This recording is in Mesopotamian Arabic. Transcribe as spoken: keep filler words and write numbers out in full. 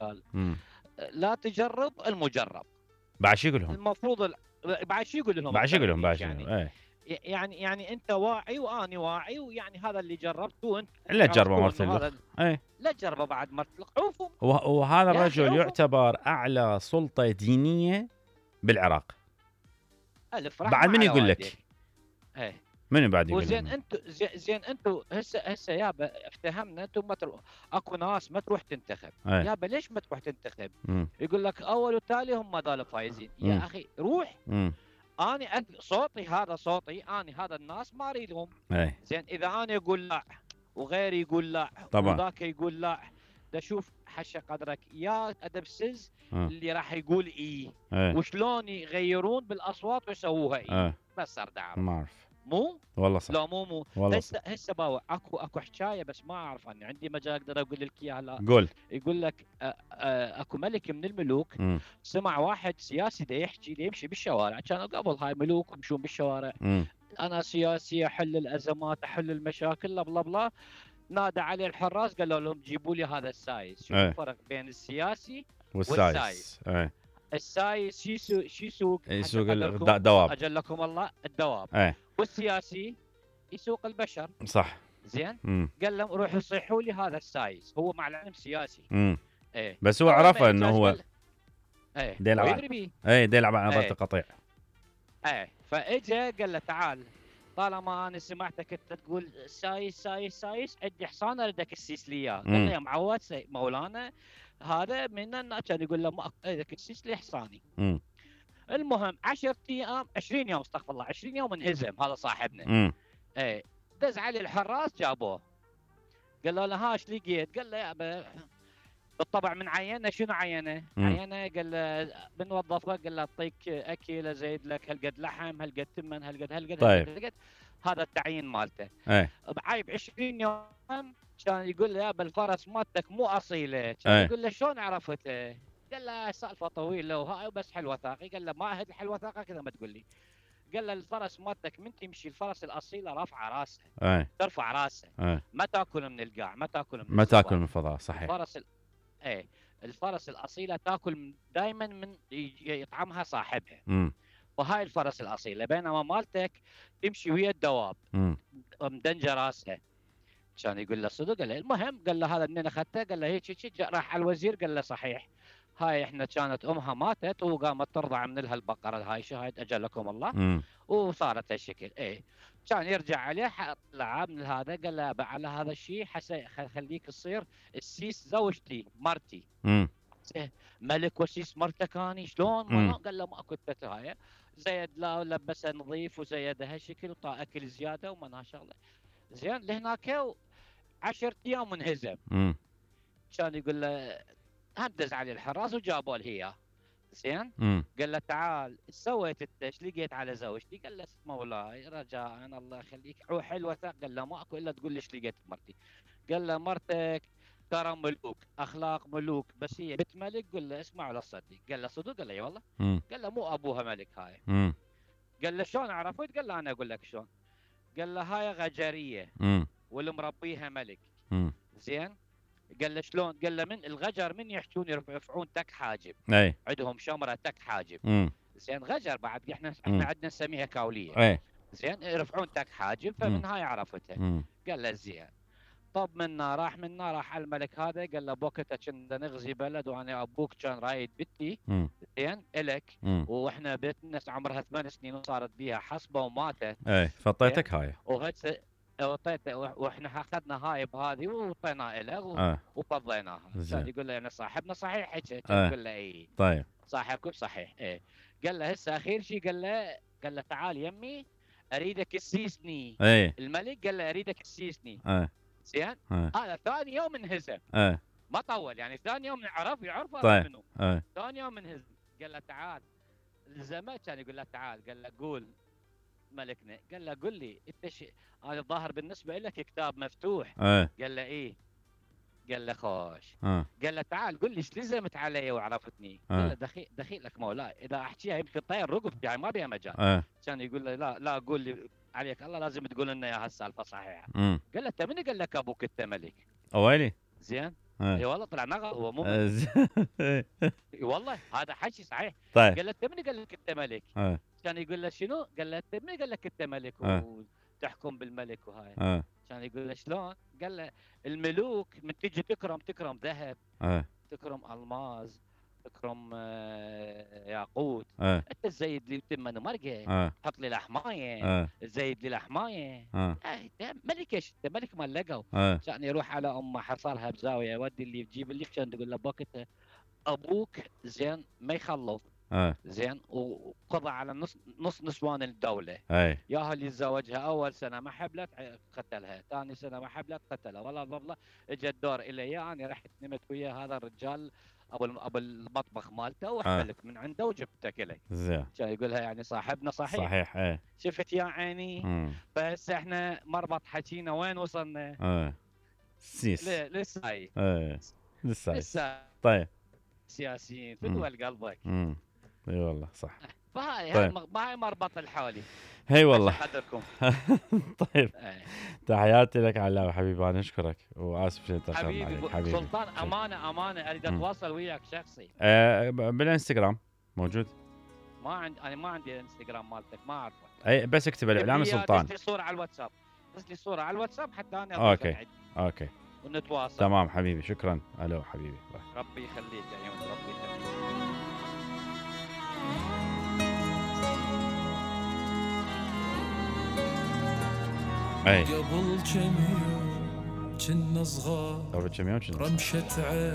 مثال. مم. لا تجرب المجرب. بعد شو يقول لهم؟ المفروض ال... بعد شو يقول لهم؟ بعد شو يقول لهم؟ بعد يعني شو؟ ايه يعني يعني انت واعي واني واعي، ويعني هذا اللي جربته وانت لا تجربه مرت هذا الاخ. ايه لا تجربه بعد مرت الاخ. عوفوا. وهذا يا أخي الرجل عوفوا. يعتبر اعلى سلطه دينيه بالعراق. الف بعد رحمه من على يقول لك؟ والديك. ايه من بعد يقول وزين لهم؟ انتم زين, زين انتم هسه هسه يابا افتهمنا انتم ما تروح. اكو ناس ما تروح تنتخب. ايه يابا ليش ما تروح تنتخب؟ مم. يقول لك اول وتالي هم ما ذال فايزين. مم. يا اخي روح. مم. اني أد... صوتي هذا صوتي، اني هذا الناس ما اريدهم. ايه زين اذا انا اقول لا وغيري يقول لا طبعا. وذاك يقول لا، دا شوف حشا قدرك يا ادبسز اه. اللي راح يقول ايه ايه وشلون يغيرون بالاصوات ويسووها ايه. ايه بس ارد اعرف. ما اعرف مو والله صح. لا مو مو والله هسه هسه باوع اكو اكو حكايه بس ما اعرف عني، عندي مجال اقدر اقول لك اياها. لا قول. يقول لك أ- أ- اكو ملك من الملوك مم. سمع واحد سياسي دا يحكي دا يمشي بالشوارع، كانوا قبل هاي ملوك يمشون بالشوارع. مم. انا سياسي احل الازمات احل المشاكل لا بلا بلا. نادى عليه الحراس قالوا لهم جيبوا لي هذا السايس. شوف ايه. الفرق بين السياسي والسايس. والسايس. ايه. السايس شو يسوق شو يسوق يسوق حتى الد- قدركم الدواب. اجلكم الله الدواب. ايه والسياسي يسوق البشر. صح. زين مم. قال لهم روحوا صيحوا لي هذا السايس. هو مع العلم سياسي. مم. ايه بس هو أول عرفه ما انه يحتاج هو قال- ايه دي يلعب ويدري بيه. ايه دي يلعب على نظرة ايه القطيع. ايه فاجا قال له تعال، طالما انا سمعتك انت تقول سايس سايس سايس عندي حصان اريدك تسيس لي اياه. قال مم. له يا معود سي- مولانا هذا من الناس. كان يقول له ما اريدك تسيس لي حصاني. مم. المهم عشرة ايام عشرين يوم استغفر الله عشرين يوم انهزم هذا صاحبنا. مم. ايه دز عليه الحراس جابوه. قال له ها ايش لقيت؟ قال له يا ابا بالطبع من عينه. شنو عينه؟ مم. عينه قال له بنوظفه. قال له اعطيك اكل ازيد لك هالقد لحم هالقد تمن هالقد هالقد طيب. هالقد. هذا التعيين مالته. ايه بعيب عشرين يوم كان يقول له يا ابا الفرس مالتك مو اصيله. كان ايه. يقول له شلون عرفته؟ قال له سالفه طويله وهاي بس حل وثاقي. قال له ما اهد الحل وثاقه كذا ما تقول لي. قال له الفرس مالتك من تمشي الفرس الاصيله رافعه راسها ايه ترفع راسها ايه ما تاكل من القاع ما تاكل من ما الصفار. تاكل من الفضاء صحيح. الفرس ال... ايه الفرس الاصيله تاكل دائما من ي- يطعمها صاحبها. امم وهاي الفرس الاصيله، بينما مالتك تمشي ويا الدواب امم مدنجه راسها. كان يقول له صدق. قال له المهم قال له هذا منين اخذته؟ قال له هيك هيك. راح على الوزير قال له صحيح هاي احنا كانت امها ماتت وقامت ترضع من لها البقره هاي شاهد اجلكم الله امم وصارت هالشكل. ايه كان يرجع عليه طلع من هذا قال له على هذا الشيء حسي خليك تصير السيس زوجتي مرتي. امم ملك وسيس مرتك اني شلون؟ مم. ما قال له ماكو هاي. زيد لا لبسه نظيف وزيده هالشكل وطا اكل زياده وما شغله. زين لهناك عشرة ايام منهزم. امم كان يقول له هدز عليه الحراس وجابوا له اياه. زين امم قال له تعال ايش سويت انت؟ ايش لقيت على زوجتي؟ قال له مولاي رجاء الله يخليك روح الوثاق. قال له ماكو الا تقول لي ايش لقيت مرتي. قال له مرتك ترى ملوك اخلاق ملوك بس هي بنت ملك. قل له اسمع ولا تصدق. قال له صدق؟ قال له اي والله. امم قال له مو ابوها ملك هاي. امم قال له شلون عرفت؟ قال له انا اقول لك شلون. قال له هاي غجريه امم والمربيها ملك. امم زين قال له شلون؟ قال له من الغجر من يحجون يرفعون تك حاجب. اي عندهم شمره تك حاجب. امم زين غجر بعد احنا مم. احنا عندنا نسميها كاوليه. اي زين يرفعون تك حاجب مم. فمن هاي عرفتها. امم قال له زين. طب منا راح منا راح على الملك هذا قال له بوقتها كنا نغزي بلد وانا ابوك كان رايد بنتي امم زين الك امم واحنا بنتنا عمرها ثمان سنين وصارت بيها حصبه وماتت. اي فطيتك هاي. وهسه اعطيته واحنا اخذنا هاي بهذه وعطيناها له و- اه وفضيناها. زين. كان يقول له انا صاحبنا صحيح هيك. آه. يقول له اي طيب صاحبكم صحيح. ايه قال له هسه اخير شيء قال له قال له تعال يمي اريدك تسيسني. اي الملك قال له اريدك تسيسني. اه زين اه هذا ثاني يوم انهزم اه ما طول يعني ثاني يوم عرف يعرف هذا طيب. منو. اه ثاني يوم انهزم. قال له تعال الزمان كان يقول له تعال. قال له قول ملكنا. قال له قل لي انت شيء هذا الظاهر بالنسبه لك كتاب مفتوح. اه قال له ايه. قال له خوش. اه قال له تعال قل لي ايش لزمت علي وعرفتني. آه. قال له دخيل دخيلك مولاي اذا احكيها يمكن طير رقبتي يعني ما بيها مجال. اه كان يقول له لا لا قول لي عليك الله لازم تقول لنا يا هالسالفه صحيحه. امم قال له انت من قال لك ابوك انت ملك؟ اويلي زين اي والله طلع نغل هو مو آه، ملك. ز- اي والله هذا حكي صحيح. طيب. قال له انت من قال لك انت ملك؟ اه كان يقول له شنو؟ قال له انت من قال لك انت ملك اه وتحكم بالملك وهاي؟ اه كان يقول له شلون؟ قال له الملوك من تجي تكرم تكرم ذهب، اه تكرم الماس، تكرم آه، ياقوت. اه انت تزيد لي تمن مرقه، اه حط لي الحمايه، اه تزيد لي الحمايه. اه آه، انت ملك ايش؟ انت ملك مال لقوا. اه كان يروح على امه حصلها بزاويه، ودي اللي تجيب اللي كان تقول له بوقتها ابوك زين ما يخلف اه زين وقضى على نص نص نسوان الدوله. اي ياها اللي تزوجها اول سنه ما حبلت قتلها، ثاني سنه ما حبلت قتلها، والله والله اجى الدور الي انا رحت نمت ويا هذا الرجال ابو ابو المطبخ مالته اه وحملت من عنده وجبتك الي. زين كان يقولها يعني صاحبنا صحيح. صحيح. ايه شفت يا عيني؟ امم فهسه احنا مربط حكينا وين وصلنا؟ اه سيس. ل- لسه هاي. ايه لسه عايش. لسه طيب. سياسيين في امم دول قلبك. امم اي والله صح. فهاي طيب. هاي هاي مربط الحالي. هي والله. عشان قدركم. طيب ايه. تحياتي لك علاء حبيبي، انا اشكرك واسف اني تاخرنا حبيبي عليك ب- حبيبي. سلطان امانه امانه اريد مم. اتواصل وياك شخصي. آه ب- بالانستغرام موجود. ما عندي انا ما عندي الانستغرام مالتك ما اعرفه. اي بس اكتب الاعلامي دز سلطان. لي صوره على الواتساب، دز لي صوره على الواتساب حتى انا اوكي اضيفك عندي اوكي ونتواصل. تمام حبيبي، شكرا. الو حبيبي باي. ربي يخليك يا عيون، ربي يخليك. اي قبل كم يوم كنا صغار قبل كم يوم كنا رمشة عين